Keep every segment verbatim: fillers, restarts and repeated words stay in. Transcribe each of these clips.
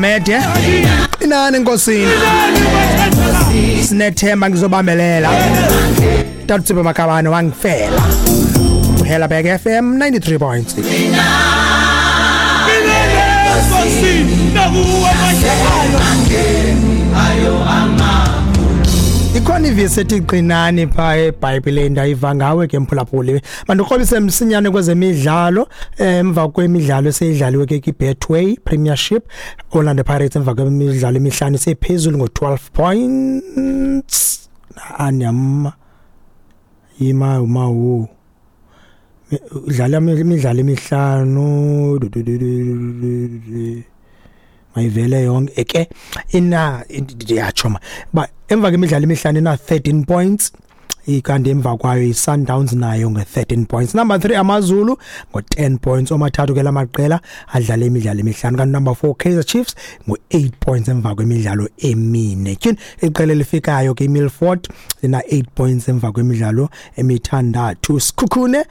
Mede inani enkosini sinethemba ngizobambelela Tata Makabane wangifela Helabek F M ninety-three point six. Ikhona ivesi ethi qinani pha eBhayibheleni ndayiva ngawe ke mphulaphuli. Mandikrobise msinyane kwezemidlalo emva kwemidlalo eseyidlaliwe ke iBetway Premiership. Orlando Pirates emva kwemidlalo emihlanu sephezulu ngo twelve points. Anyama yima mawu udlala imidlalo emihlanu mayivele yonke ke ina ndiyachoma ba emva kwemidlalo emihlanu ina thirteen points ikanti emva kwayo iSundowns nayo nge thirteen points. Number three AmaZulu ngo ten points omathathu ke lamaqela adlala imidlalo emihlanu kanti number four Kaizer Chiefs ngo eight points emva kwemidlalo emine. Tyhini iqela elifikayo ke iMilford lina eight points emva kwemidlalo emithandathu. Sikhukhune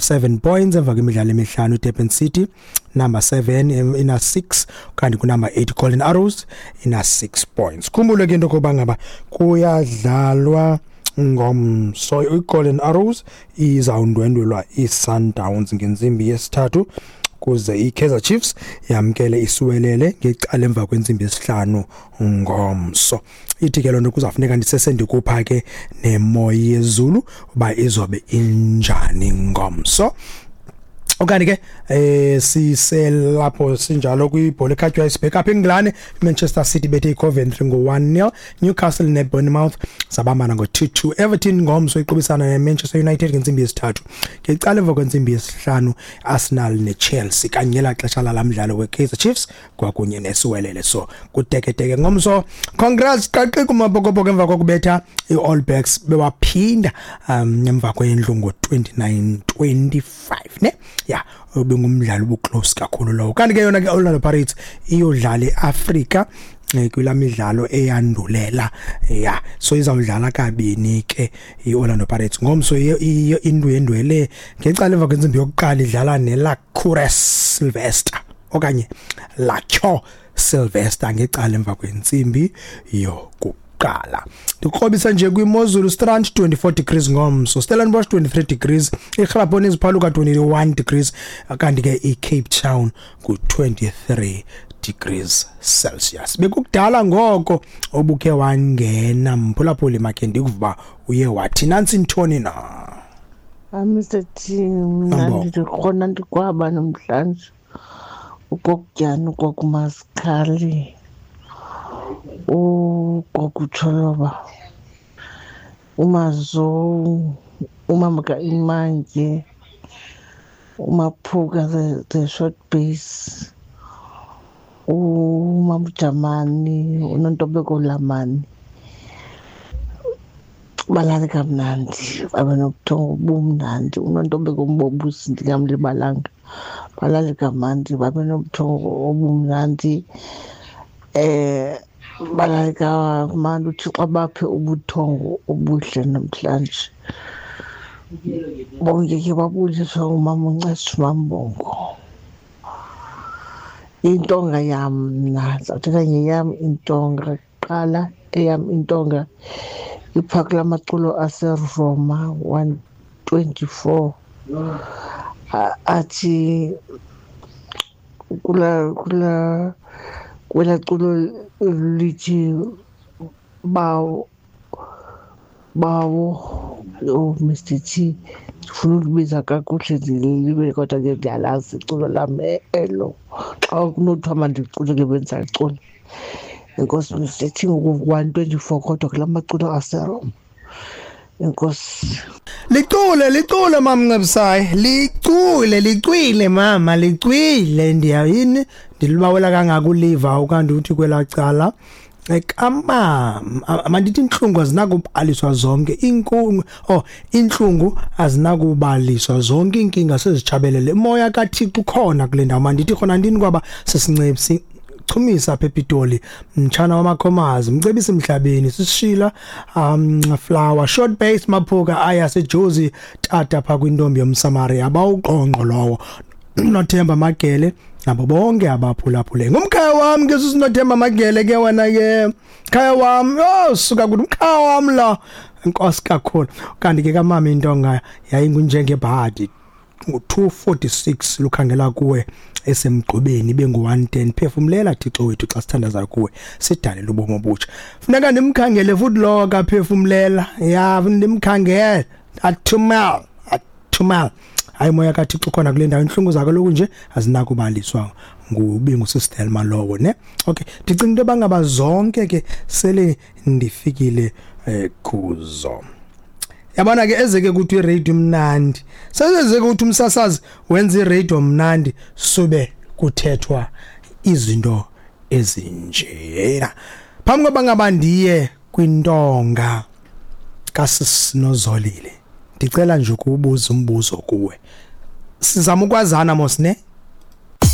seven points emva kwemidlalo emihlanu. Durban City number seven ina six kanti ku number eight Golden Arrows ina six points. Khumbule ke into koba ngaba kuyadlalwa ngomso iGolden Arrows izawundwendwelwa iSundowns ngentsimbi yesithathu kuze iKaizer Chiefs yamkele iSiwelele ngecala emva kwentsimbi yesihlanu ngomso. Ithi ke lonto kuzafuneka ndisesendikupha ke nemo yezulu uba izobe injani ngomso. Okanye ke eh siselapho sinjalo kwibhola ekhatywayo sibheka apha eNgilane. Manchester City bethe iCoventry ngo one nil, Newcastle neBournemouth zabambana ngo two two. Everton ngomso iqubisana neManchester United ngentsimbi yesithathu. Ngecala emva kwentsimbi yesihlanu Arsenal neChelsea kanye la xesha lalamdlalo weKaizer Chiefs kwakunye neSiwelele. So kuteketeke ngomso. Congrats qaqi kuMabokoboko emva kokubetha iAll Blacks bewaphinda um emva kwendlu ngo twenty-nine twenty-five ne. Ya ubengumdlalo obuclose kakhulu lowo. Kanti ke yona ke Orlando Pirates iyodlala eAfrica kula midlalo eyandulela ya so izawudlala kabini ke iOrlando Pirates ngomso indwendwele ngecala emva kwentsimbi yokuqala idlala neLa Cures Sylvester okanye Lacho Sylvester ngecala emva kwentsimbi yokuqala. Ndikrobisa nje kwiMozulu Strand twenty-four degrees ngomso, Stellenbosch twenty-three degrees, iGrabon iziphaluka twenty-one degrees kanti ke iCape Town ku twenty-three degrees Celsius. Bekukudala ngoko obukhe wangena mphulaphuli makhe ndikuva uye wathi nansi ntoni na. Mister T, mina ndikhona ndikwaba namhlanje ukokutyana ukokumaskali ugogo uMazo umama kaImantye uMaphuka the, the short base uMamJamani uNontobeko Lamani balale kamnandi babe nobuthongo obumnandi. uNontobeko Mbobusi ndingamlibalanga balale kamnandi babe nobuthongo obumnandi. Eh balale kamnandi uThixo abaphe ubuthongo obuhle namhlanje. Bonke ke babuliswa umama uNcesi Mambongo. Intonga yam mna ndizawuthetha ngeyam intonga kuqala. Eyam intonga iphaka lamaculo aseRoma one twenty-four athi kula kula kwela culo lithi bawo bawo oh Mister T ndifuna ukubiza kakuhle ndilibe kodwa ke ndiyalazi iculo lam elo. Xa kunothiwa mandicule ke bendisacula. Enkosi Mister T ngoku one twenty-four kodwa kula maculo aseRoma. Enkosi. Licule licule mamNcebisayi licule licwile mama licwile ndiyayini ndilibawela kangaka uliva ukanti uthi kwelacala ekama mandithi inhlungu azinakubaliswa zonke inkungu oh inhlungu azinakubaliswa zonke inkinga sezichabelele moya kaThixo ukhona kule ndawo mandithi khona ndini kwaba sesincebisi Chumisa apha ePitoli mtshana wamakhomazi mcebisi emhlabeni sisishila um flower short base Maphuka aya seJozi tata pha kwintombi yomSamaria abawuqonqo lowo Nothemba Magele Nabo bonke abaphulaphule. Ngumkhaya wami ke sisinothemba Magele ke wena ke. Khaya wami, oh suka kuthi umkhaya wami la. Inkosi kakhulu. Kanti ke kamama intonga yayingunjengebhadi. Ngu-two forty-six lukhangela kuwe esemgqobeni bengu-one ten. Phefumlela Thixo wethu xa sithandaza kuwe, sidalele ubomi obutsha. Funeka ndimkhangele futhi lo kaphefumlela. Ya, ndimkhangele. Athumel, athumel. Hayi moya kaThixo khona kule ndawo, inhlungu zakho lokhu nje azinakubaliswa ngubingu Sistelma lowo ne. Okay, ndicinga into bangaba zonke ke sele ndifikile eh, kuzo. Yabona ke ezeke kuthi iradio mnandi. Sezeke ukuthi umsasazi wenza iradio mnandi sube kuthethwa izinto ezinjena. Phambi koba ngaba ndiye kwintonga kaSisinozolile, ndicela nje ukubuza umbuzo kuwe. Sizama ukwazana mos ne?